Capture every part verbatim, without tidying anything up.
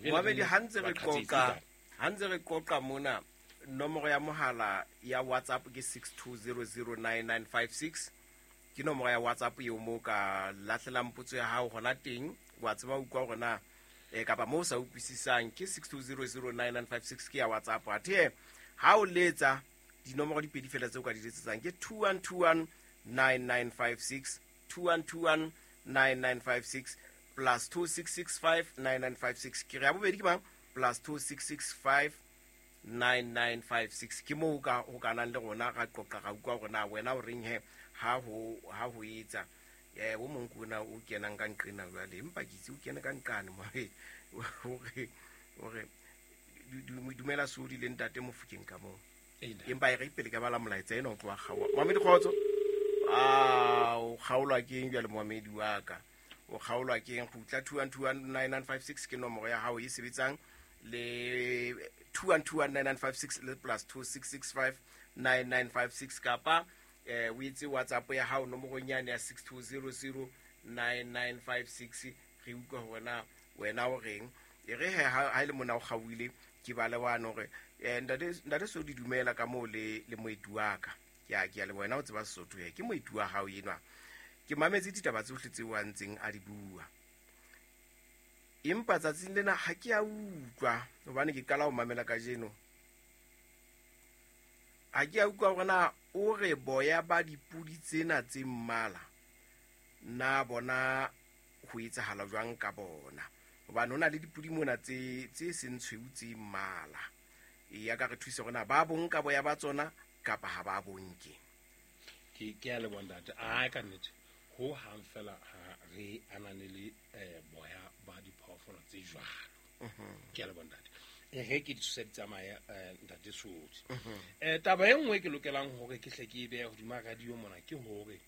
Mohamedi, ha ntse re qoqa ha ntse re qoqa mona, nomoro ya mohala ya WhatsApp ke six two zero zero nine nine five six. Ke nomoro ya WhatsApp eo mo ka lahlelang potso ya hao hona teng, wa tseba utlwa hore na eh kapa mo sa utlwisisang ke six two zero zero nine nine five six ke ya WhatsApp. Athe ha o letsa dinomoro di pedi fela tseo ka di letsetsang ke two one two one nine nine five six, two one two one nine nine five six plus two six six five nine nine five six. Ke re ya bobedi ke mang? Plus two six six five nine nine five six. Ke moo ka ho kanang le rona ra qoqa ra utlwa hore na wena o reng he ha ho ha ho etsa. Eh o mong kona o kenang ka nqena jwale, empa ke itse o kene ka nqane mo hore hore dumela Sodi le ntate Mofokeng ka moo. Empa e re pele ka bala molaetsa ena o tloha kgaoha. Mohamedi kgotso. Ah, o kgaolwa ke eng jwale Mohamedi wa ka? O kgaolwa ke eng? Kgutla two one two one nine nine five six ke nomoro ya hao e sebetsang le two one two one nine nine five six le plus two six six five nine nine five six kapa eh o itse WhatsApp ya hao nomorong yane ya six two zero zero nine nine five six. Re utlwa hore na wena o reng. E re he ha ile mona o kgaohile ke bale wa no re eh ntate ntate Sodi dumela ka moo le le moeti wa ka. Ke a ke a le wena o tseba Sesotho he ke moeti wa hao enwa. Ke mametse ditaba tsohle tseo a ntseng a di bua. Empa tsatsing lena ha ke a utlwa hobane ke qala ho mamela kajeno. Ha ke a utlwa hore na o re boya ba dipudi tsena tse mmala na bona ho etsahala jwang ka bona. Hobane hona le dipudi mona tse tse seng tshweu tse mmala. E ya ka re thuse hore na ba bonka boya ba tsona kapa ha ba bonke. Ke ke a leboha ntate. A ka nnete ho hang fela ha re ananele eh boya ba diphoofolo tse jwalo. Ke a leboha ntate. E re ke ditshose di tsamaya ntate Sodi. Eh taba e nngwe ke lokelang hore ke hle ke e behe hodima radio mona ke hore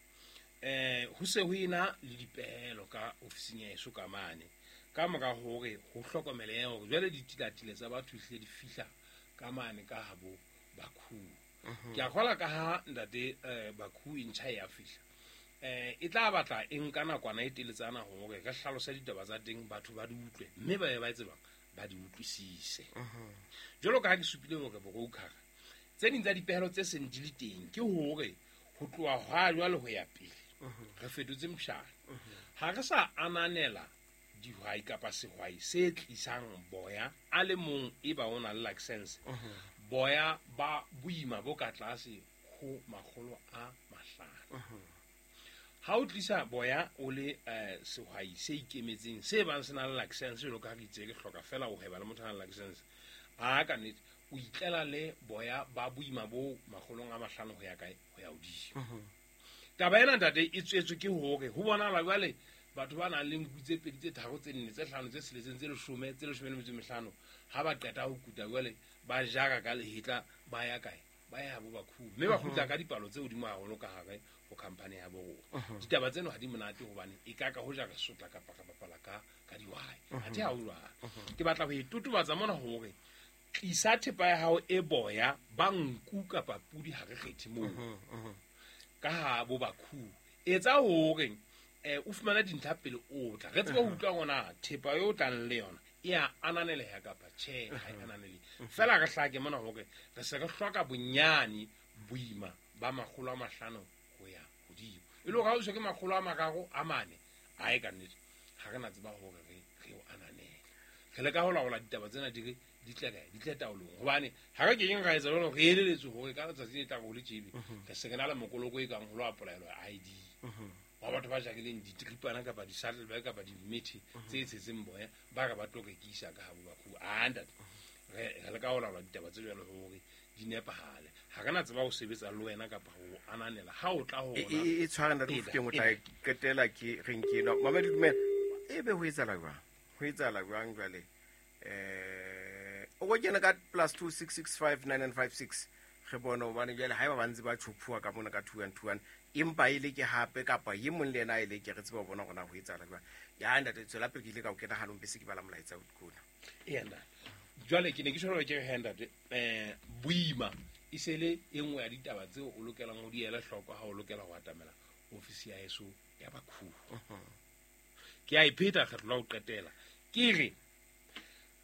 eh ho se ho ena le dipehelo ka ofising ya heso ka mane. Ka mora hore ho hlokomelehe hore jwale ditilatile tsa batho ehlile di fihla ka mane ka habo Bakhu. Ke a kgola ka ha ntate eh Bakhu e ntjha ya fihla. Eh e tla batla e nka nakwana e teletsana hore re hlalose ditaba tsa teng batho ba di utlwe mme ba ye ba tsebang ba di utlwisise. Jwalo ka ha ke supile hore broker tse ding tsa dipehelo tse seng di le teng ke hore ho tloha hwa jwale ho ya pele re fetotse moshana. Ha re sa ananela dihwai kapa sehwai se tlisang boya a le mong e ba o na le license boya ba boima bo ka tlase ho makgolo a mahlano. Ha o tlisa boya o le eh sehwai se ikemetseng se bang se na le license jwalo ka ha re itse re hloka fela ho hweba le motho a nang le license, a ka nnete o itlela le boya ba boima bo makgolong a mahlano ho ya kae ho ya hodimo. Taba ena ntate e tswetswe ke hore ho bonahala jwale batho ba nang le nku tse pedi tse tharo tse nne tse hlano tse tsheletseng tse leshome tse leshome le metso e mehlano ha ba qeta ho kuta jwale ba jara ka lehetla ba ya kae ba ya bo Bakhu mme ba kgutla ka dipalo tse hodimo haholo ka hare ho company ya bo rona. Ditaba tseno ha di monate hobane e ka ka ho jara sotla kapa ka bapala ka ka dihwai. Athe ha ho jwalo. Ke batla ho e totobatsa mona hore tlisa thepa ya hao e boya ba nku kapa pudi ha re kgethe moo ka ha bo Bakhu. Etsa hore eh o fumana dintlha pele o tla re tsebe ho utlwa hore thepa eo o tlang le yona e a ananeleha kapa tjhe ha e ananele. Fela re hlake mona hore re se re hloka bonyane boima ba makgolo a mahlano ho ya hodimo. E le hore ha o se ke makgolo a mararo a mane a e ka nnete ha re na tseba hore re re o ananele. Re leka ho laola ditaba tsena di re di tle kae di tle taolong hobane ha re keng ra etsa jwalo re eleletswe hore ka letsatsi le tlang ho le tjebe re se re na le mokoloko e kang ho lo apolaelwa I D wa batho ba jakileng ditripana kapa di-saddlebag kapa dimethe tse tshetseng boya ba re ba tlo rekisa ka habo Bakhu. A ntate re re leka ho laola ditaba tse jwalo hore di nepahale. Ha re na tseba ho sebetsa le wena kapa ho ananela ha o tla ho rona. E tshware ntate Mofokeng o tla qetela ke reng ke ena. Mamedi dumela ebe ho etsahala jwang? Ho etsahala jwang jwale? Eh o go kena ka plus two six six five nine nine five six re bone hobane jwale haeba ba ntse ba tjhophuwa ka mona ka two one two one empa e le ke hape kapa e mong le yena e le ke re tseba ho bona hore na ho etsahala jwang. Ya ntate tswela pele ke ile ka o kena hanong bese ke bala molaetsa o kona. Eya ntate. Jwale ke ne ke tshwarwa ke re ntate eh boima e se le e nngwe ya ditaba tseo o lokelang ho di ela hloko ha o lokela ho atamela ofisi ya heso ya Bakhu. Ke a e pheta kgetlo la ho qetela. Ke re